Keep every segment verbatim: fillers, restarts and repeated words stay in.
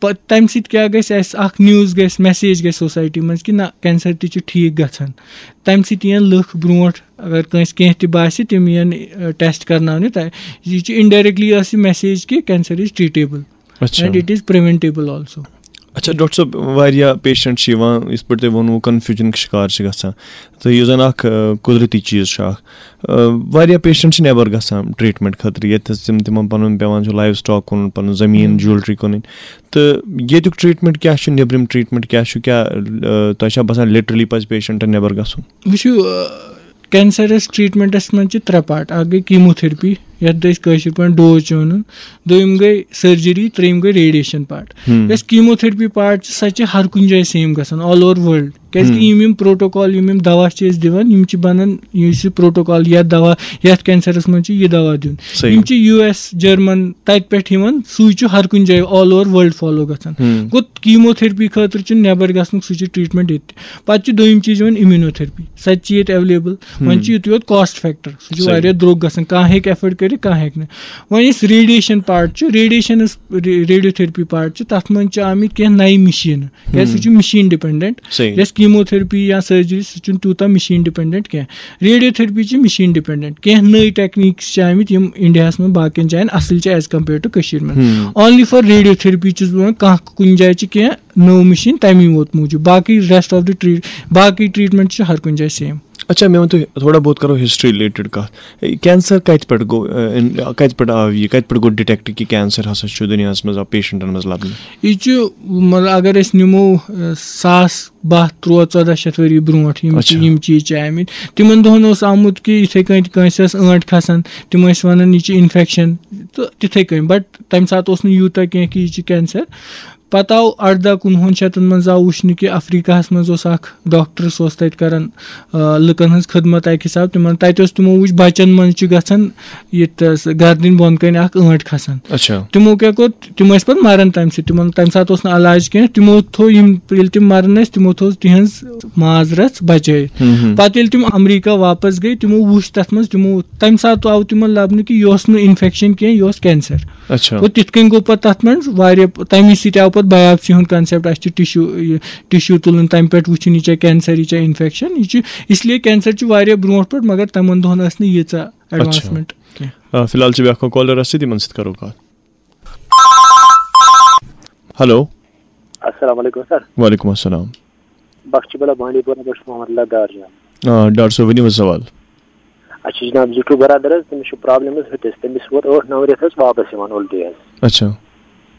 پَتہٕ تَمہِ سۭتۍ کیٛاہ گژھِ اَسہِ؟ اَکھ نیوٕز گژھِ، میسیج گژھِ سوسایٹی منٛز کہِ نہ، کینسر تہِ چھُ ٹھیٖک گژھان۔ تَمہِ سۭتۍ یِن لُکھ برونٛٹھ، اگر کٲنٛسہِ کینٛہہ تہِ باسہِ، تِم یِن ٹیسٹ کرناونہِ۔ تہٕ یہِ چھِ انڈائریکٹلی ٲس یہِ میسیج کہِ cancer is treatable اچھا۔ And it is preventable also. اچھا، ڈاکٹر صٲب، واریاہ پیشنٹ چھِ یِوان، یِتھ پٲٹھۍ تۄہہِ ووٚنوُ، کنفیوجنُک شکار چھِ گژھان۔ تہٕ یُس زَن اَکھ، آ، قۄدرٔتی چیٖز چھُ اَکھ، آ، واریاہ پیشنٹ چھِ نٮ۪بر گژھان ٹریٹمنٹ خٲطرٕ، ییٚتہِ تِم، تِمن پَنُن پٮ۪وان چھُ لایِو سٹاک کٕنُن، پَنُن زٔمیٖن، جیولری کٕنٕنۍ۔ تہٕ ییٚتیُک ٹریٹمنٹ کیٛاہ چھُ، نیٚبرِم ٹریٹمنٹ کیٛاہ چھُ، کیٛاہ، آ، تۄہہِ چھا باسان لِٹرلی پَزِ پیشنٹن نٮ۪بر گژھُن؟ وٕچھِو، آ، کینسرس ٹریٹمنٹس منٛز چھِ ترٛےٚ پارٹ۔ اَکھ گٔے کیموتھرپی، یَتھ أسۍ کٲشِر پٲٹھۍ ڈوز چھِ وَنان۔ دوٚیِم گٔے سرجری، ترٛیٚیِم گٔے ریڈیشن پارٹ۔ یۄس کیموتھرپی پارٹ چھِ، سۄ چھِ ہر کُنہِ جایہِ سیم گژھان، all over world۔ کیازِ کہِ یِم یِم پروٹوکال، یِم یِم دوا چھِ أسۍ دِوان، یِم چھِ بنان، یُس یہِ پروٹوکال یا دوا یتھ کینسرس منٛز چھُ یہِ دوا دیُن، صحیح۔ یِم چھِ یو ایس، جرمن، تتہِ پٮ۪ٹھ یِوان، سُے چھُ ہر کُنہِ جایہِ all over world follow گژھان۔ گوٚو کیموتھرپی خٲطرٕ چھُ نٮ۪بر گژھنُک، سُہ چھُ ٹریٹمنٹ ییٚتہِ۔ پتہٕ چھُ دوٚیِم چیٖز یِوان امیونوتھرپی، سۄ تہِ چھِ ییٚتہِ اویلیبل۔ وۄنۍ چھُ یُتُے یوت کاسٹ فیکٹر، سُہ چھُ صحیح۔ واریاہ درٛوگ گژھان، کانٛہہ ہیٚکہِ ایفٲرڈ کٔرِتھ، کانٛہہ ہیٚکہِ نہٕ۔ وۄنۍ یُس ریڈیشن پارٹ چھُ، ریڈیشنس، ریڈیو تھرپی پارٹ چھُ، تتھ منٛز چھِ آمٕتۍ کینٛہہ نَیہِ مِشیٖنہٕ۔ کیازِ سُہ چھُ مِشیٖن ڈِپینڈنٹ۔ صحیح۔ یۄس کیموتھرپی یا سرجری، سُہ چھُنہٕ تیوٗتاہ مِشیٖن ڈِپینڈنٹ کینٛہہ۔ ریڈیو تھرپی چھِ مِشیٖن ڈِپینڈنٹ۔ کینٛہہ نٔے ٹیکنیٖکس چھِ آمٕتۍ، یِم انڈیاہس منٛز باقین جاین اصل چھِ as compare to کٔشیٖر منٛز۔ Only for radiotherapy چھُس بہٕ وَنان، کانٛہہ کُنہِ جایہِ چھِ کینٛہہ نٔو مِشیٖن تَمی یوت موٗجوٗب، باقٕے rest of the treat، باقٕے ٹریٹمنٹ چھِ ہر کُنہِ جایہِ سیم۔ اچھا، مےٚ ؤنۍ تو تھوڑا بہت کرو ہسٹری رِلیٹڈ کتھ۔ کینسر کتہِ پٮ۪ٹھ گوٚو، اہ، ان-، کتہِ پٮ۪ٹھ آو یہِ، کتہِ پٮ۪ٹھ گوٚو ڈِٹیکٹ کہِ کینسر ہسا چھُ دُنیاہس منٛز آو پیشنٹن منٛز لبنہٕ؟ یہِ چھُ، مطلب، اگر أسۍ نِمو، اہ، ساس باہ، تُرٛواہ، ژۄداہ شیٚتھ ؤری برونٛٹھ یِم، اچھا۔ یِم چیٖز چھِ آمٕتۍ۔ تِمن دۄہن اوس آمُت کہِ یِتھے کٔنۍ کٲنٛسہِ ٲس ٲنٹ کھسان، تِم ٲسۍ ونان یہِ چھِ انفیکشن، تہٕ تِتھے کٔنۍ، but تمہِ ساتہٕ اوس نہٕ یوٗتاہ کینٛہہ کہِ یہِ چھِ کینسر۔ پتہٕ آو ارداہ کُنوُہن شیٚتن منٛز آو وٕچھنہٕ کہِ افریقہس منٛز اوس اکھ ڈاکٹر، سُہ اوس تتہِ کران، آ، لُکن ہٕنٛز خدمت اکہِ حساب۔ تِمن تتہِ اوس، تِمو وٕچھ بچن منٛز چھُ گژھان یہِ تس گردنہِ بۄن کنہِ اکھ ٲنٹ کھسان۔ اچھا۔ تِمو کیٛاہ کوٚر؟ تِم ٲسۍ پتہٕ مران تمہِ سۭتۍ، تِمن تمہِ ساتہٕ اوس نہٕ علاج کینٛہہ۔ تِمو تھوٚو یِم، ییٚلہِ تِم مران ٲسۍ، تِمو تھوٚو تِہنٛز ماز رژھ بچٲیِتھ۔ پتہٕ ییٚلہِ تِم امریکہ واپس گٔے، تِمو وٕچھ تتھ منٛز، تِمو، تمہِ ساتہٕ آو تِمن لبنہٕ کہِ یہِ اوس نہٕ انفیکشن کینٛہہ، یہِ اوس کینسر۔ اچھا۔ گوٚو تِتھ کٔنۍ گوٚو پتہٕ تتھ منٛز واریاہ، تمی سۭتۍ آو پتہٕ بایاپسی ہُنٛد کنسیپٹ، اسہِ چھُ ٹشو، یہِ ٹشو تُلُن، تمہِ پٮ۪ٹھ وٕچھُن یہِ چھا کینسر، یہِ چھا انفیکشن، یہِ چھُ، اس لیے کینسر چھُ واریاہ برونٛٹھ پٮ۪ٹھ، مگر تِمن دۄہن ٲس نہٕ ییٖژاہ اچھا۔ ایڈوانسمنٹ کینٛہہ۔ آ، فی الحال چھِ بیٛاکھ اکھ کالر اَسہِ سۭتۍ، یِمن سۭتۍ کرو کتھ۔ ہیلو۔ السلام علیکم سر۔ وعلیکم السلام۔ بخش بلا بانڈی پورہ پٮ۪ٹھ چھُس محمد اللہ دار جان۔ آ، ڈاکٹر صٲب، ؤنِو حظ سوال۔ اَسہِ چھُ جناب زِٹھوٗ برادر حظ، تٔمِس چھُ پرابلم حظ ہٹِس، تٔمِس ووت ٲٹھ نَو رٮ۪تھ حظ واپس یِوان اُلٹی حظ۔ اچھا۔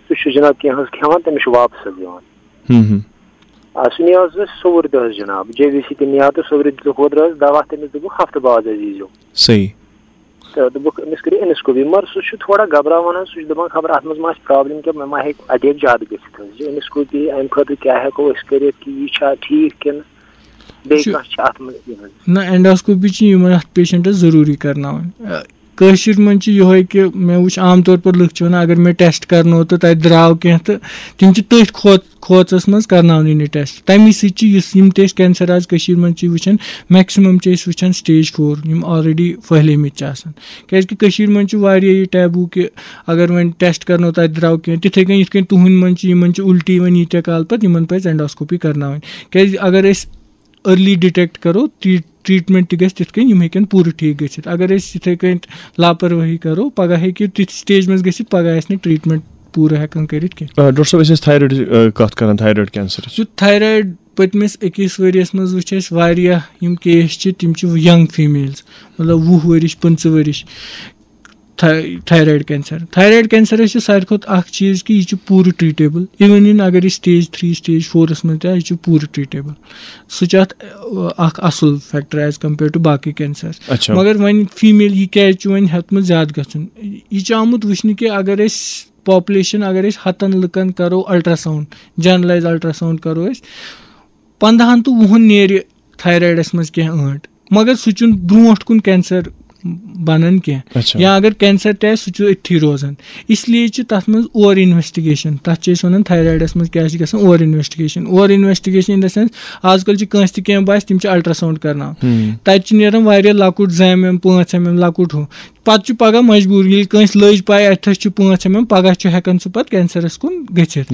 سُہ چھُ جناب کینٛہہ حظ کھٮ۪وان، تٔمِس چھُ واپس حظ یِوان۔ ہُم ہُم۔ آ، سُہ نِیو حظ اَسہِ سوٚوُر دۄہ حظ جناب، جے وی سی تہِ نِیو تہٕ سوٚورِ دۄہ حظ دوا، تٔمِس دوٚپُکھ ہفتہٕ بعد حظ ییٖزیو۔ صحیح۔ تہٕ دوٚپُکھ أمِس کٔرِو endoscopy، مگر سُہ چھُ تھوڑا گھبراوان حظ، سُہ چھُ دَپان خبر اَتھ منٛز ما آسہِ پرابلم کینٛہہ، مےٚ ما ہیٚکہِ اَٹیک زیادٕ گٔژھِتھ حظ۔ یہِ endoscopy اَمہِ خٲطرٕ کیٛاہ ہٮ۪کو أسۍ کٔرِتھ کہِ یہِ چھا ٹھیٖک کِنہٕ بیٚیہِ چھُ کانٛہہ چھِ اَتھ منٛز کینٛہہ حظ؟ نہ، endoscopy چھِ یِمن اَتھ پیشنٹس ضروٗری کرناوٕنۍ۔ اَ، کٲشِر منٛز چھِ یِہوے کہِ مےٚ وٕچھ عام طور پر لُکھ چھِ وَنان، اگر مےٚ ٹیسٹ کرنو تہٕ تَتہِ درٛاو کینٛہہ، تہٕ تِم چھِ تٔتھۍ کھوژ-، کھوژس منٛز کرناونٕے نہٕ ٹیسٹ۔ تَمی سۭتۍ چھِ یُس یِم تہِ أسۍ کینسر آز کٔشیٖر منٛز چھِ وٕچھان، maximum چھِ أسۍ وٕچھان stage four، یِم already پھٔہلیمٕتۍ چھِ آسان۔ کیازِ کہِ کٔشیٖر منٛز چھُ واریاہ یہِ taboo کہِ اگر وۄنۍ ٹیسٹ کرنو، تَتہِ درٛاو کینٛہہ، تِتھے کٔنۍ یِتھ کٔنۍ تُہنٛدِ منٛز چھِ، یِمن چھِ اُلٹی وۄنۍ ییٖتیٛاہ کالہٕ پتہٕ، یِمن پزِ endoscopy کرناوٕنۍ۔ کیازِ اگر أسۍ early detect کرو، ٹری-، ٹریٹمنٹ تہِ گژھِ تِتھ کٔنۍ، یِم ہیٚکن پوٗرٕ ٹھیٖک گٔژھِتھ۔ اگر أسۍ یِتھے کٔنۍ لاپروٲہی کرو، پگاہ ہیٚکہِ تِژھ stage منٛز گٔژھِتھ، پگاہ آسہِ نہٕ ٹریٹمنٹ پوٗرٕ ہٮ۪کان کٔرِتھ کینٛہہ۔ آ، ڈاکٹر صٲب، أسۍ ٲسۍ thyroid، آ، کتھ کران، thyroid cancer۔ یُتھ thyroid پٔتمِس أکِس ؤریَس منٛز وٕچھ اَسہِ واریاہ یِم case چھِ، تِم چھِ young females، مطلب وُہ ؤرِش، پٕنٛژٕہ ؤرِش۔ تھا-، thyroid cancer۔ Thyroid cancerس چھِ ساروی کھۄتہٕ اکھ چیٖز کہِ یہِ چھُ پوٗرٕ treatable۔ Even in اگر یہِ stage three، stage fourس منٛز تہِ آسہِ، یہِ چھُ پوٗرٕ treatable۔ سُہ چھُ اَتھ، اَ، اکھ اَصٕل factor as compare to باقٕے cancers۔ اچھا۔ مگر وۄنۍ female یہِ کیٛازِ چھُ وۄنۍ ہیوٚتمُت زیادٕ گژھُن؟ یہِ چھُ آمُت وٕچھنہٕ کہِ اگر أسۍ population، اگر أسۍ ہَتَن لُکَن کَرو ultrasound، generalize ultrasound کَرو أسۍ، پنٛدہَن تہٕ وُہَن نیرِ thyroidس منٛز کینٛہہ ٲنٹ، مگر سُہ چھُنہٕ برونٛٹھ کُن cancer بنان کینٛہہ۔ اچھا۔ یا اگر cancer تہِ آسہِ، سُہ چھُ أتھی روزان۔ اس لیے چھِ تَتھ منٛز over investigation، تَتھ چھِ أسۍ وَنان thyroidس منٛز کیٛاہ چھِ گژھان، over investigation۔ Over investigation in the sense، آز کل چھِ کٲنٛسہِ تہِ کینٛہہ باسہِ، تِم چھِ ultrasound کرناوان۔ ہُم۔ تَتہِ چھِ نیران واریاہ لۄکُٹ، زٕ ایم ایم، پانٛژھ ایم ایم، لۄکُٹ ہُہ۔ پتہٕ چھُ پگاہ مجبوٗر، ییٚلہِ کٲنٛسہِ لٔج پاے اَتھس چھُ پانٛژھ ایم ایم، پگاہ چھُ ہٮ۪کان سُہ پتہٕ cancerس کُن گٔژھِتھ۔ گٔژھِتھ۔